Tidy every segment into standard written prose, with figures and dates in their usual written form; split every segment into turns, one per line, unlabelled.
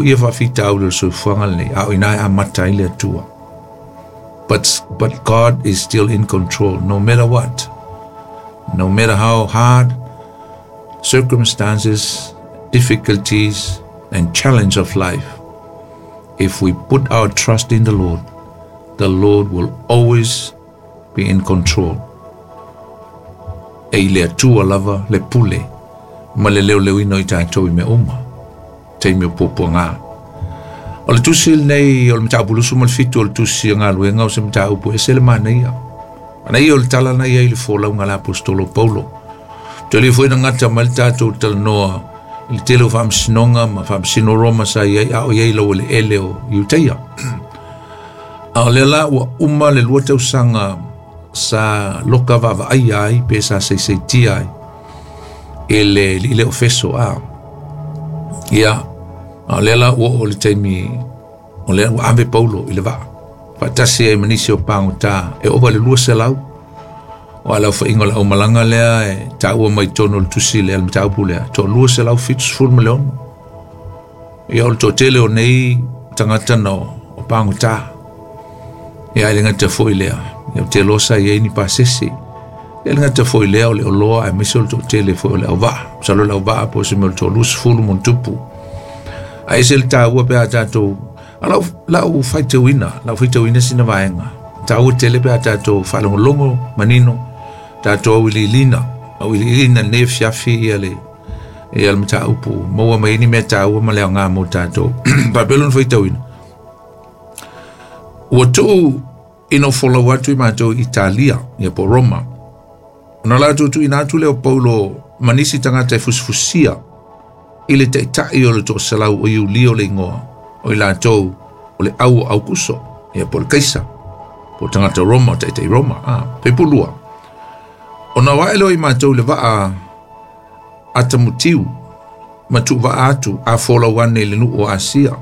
foia faafitauli o le soifuaga lenei, a o ina e amata ai le Atua. But God is still in control, no matter what. No matter how hard circumstances, difficulties, and challenge of life, if we put our trust in the Lord will always be in control. E i le Atua lava le pule ma le leoleoina o i tatou i mea uma, taimi o puapuaga. O le tusi lenei o le mataupu 27 o le tusi o galuega o se mataupu e ese le manaia. Manaia o le tala na ia i le folauga a le aposetolo Paulo. Toe le foi na gata mai le tatou talanoa i le tele o faamasinoga ma faamasino Roma sa i ai a o i ai i laueleele o Iutaia. A o lea la ua uma le 2 tausaga sa loka vaavaaia ai pe sa seiseitia ai e le alii lea o Feso a. Ia, a o lea la ua oo i le taimi o lea ua ave Paulo i le vaa faatasi ai ma nisi o pagota e ova i le 200. O a le aofaiga o le aumalaga lea e taua mai totonu o le tusi lea, le mataupu lea, toa 276. Ia, o le toatele o nei tagata na o pagota. Ia, e le gata foi lea, ia, o te loa sa i ai ni pasese. Ia, le gata foi lea o le oloa aemaise o le toatele foi o le auvaa. Masalo le auvaa po o se mea o le toa 20 ma tupu. Ae ese le taua pe a tatou, a lau faitauina sina vaega. Taua tele pe a tatou faalogologo manino, tatou auiliilina lenei afiafi ia le mataupu, maua mai ni mea taua ma le aoga mo tatou. Faapea lona faitauina. Ua tuu ina folau atu i matou i Italia, ia po Roma. Ona latou tuuina atu lea o Paulo ma nisi tagata e fusifusia i le taitai o le toaselau o Iulio le igoa, o i latou o le au o Aukuso, ia po le Kaisa, po tagata Roma, o taitai Roma, peipulua. Ona wae lea i matou le vaa Atamutiu, ma tuuvaa atu a folau ane i le nuu o Asia.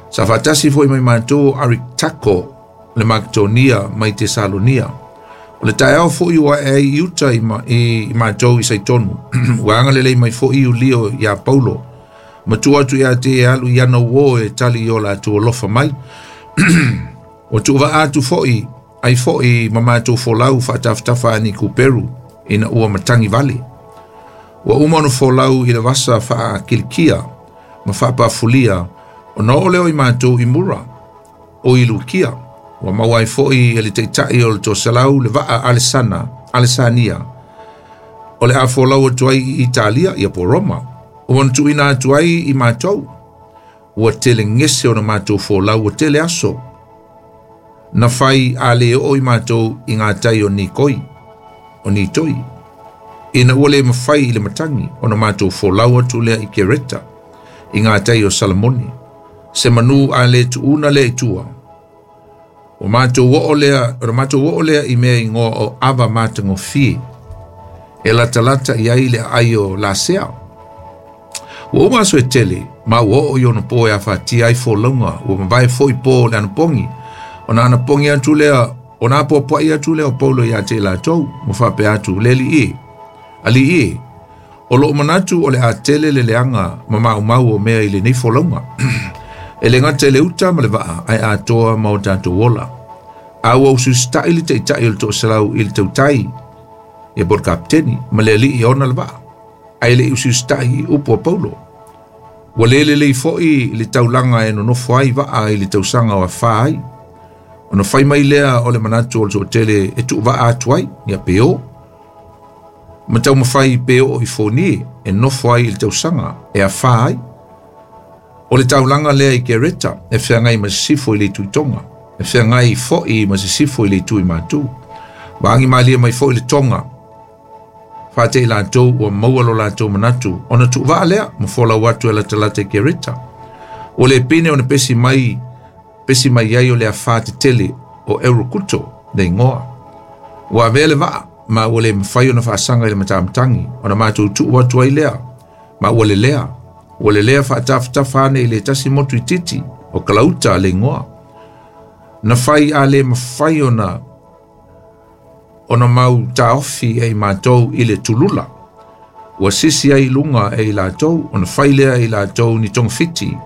Sa faatasi foi mai matou Aritako le Makedonia mai Tesalonia. O le taeao foi ua ae ai i uta i matou i Saitonu. Ua agalelei mai foi Iulio ia Paulo. Ma tuu atu ia te e alu i ana uo e tali i o latou alofa mai. Ua tuuvaa atu foi ai foi ma matou folau faatafatafa ani Kuperu ina ua matangi vale. Ua uma ona folau i le vasa faakilikia ma faapafulia ona oo lea i matou i Mura o i Lukia. Ua maua ai foi e le taitai o le toaselau le vaa Alesania o le a folau atu ai i Italia, ia po Roma. Ua ona tuuina atu ai i matou. Ua tele gese ona matou folau, ua tele aso na fai a le oo i matou i ngā tai o Nikoi, o Nitoi. Ina ua le mawhai i le matangi ona matou folau atu lea i Kereta i ngā tai o Salamoni. Se manu a le tuuna lea i tua. O matou oo lea i mea ingoa o Ava Matagofie e latalata i ai le aai o Lasea. Ua uma aso e tele, ma ua oo i ona po e afatia ai folauga, ua mavae foi po le anapogi. Ona anapogi atu lea, ona apoapoai atu lea o Paulo ia te latou, ma faapea atu, le alii e, alii e, o loo manatu o le a tele le leaga ma maumau o mea i lenei folauga. E le gata i le uta ma le vaa, ae atoa ma o tatou ola. A ua ususita'i le taitai o le toaselau i le tautai, ia po le kapiteni, ma le alii e ona le vaa, ae le i ususita'i i upu a Paulo. Ua le lelei foi le taulaga e nonofo ai vaa i le tausaga o afā ai. Ona fai mai lea o le manatu o le toatele e tuuvaa atu ai, ia pe o. Ma taumafai pe oo i Fonie e nofo ai i le tausaga e afā ai. O le taulaga lea i Kereta e feagai ma sisifo i le itu i Tonga, e feagai foi ma sisifo i le itu i Matu. Ua agi malie mai foi le Tonga, whaate i latou ua maua lo latou manatu, ona tuuvaa lea ma folau atu e latalata i Kereta. O le pine ona pesi mai ai o le afā tetele o Eurokuto le ingoa. Ua avea le vaa, ma ua le mawhai ona whaasanga i le matamatangi, ona matou tuu atu ai lea, ma ua lelea. Ua lelea whaatafatafa ane i le tasi motu i titi o Kalauta le ingoa. Na whai a le mawhai ona mau taofi e i mātou i le tulula. Ua sisi ai lunga e i latou, ona whai lea i latou ni tongawhiti.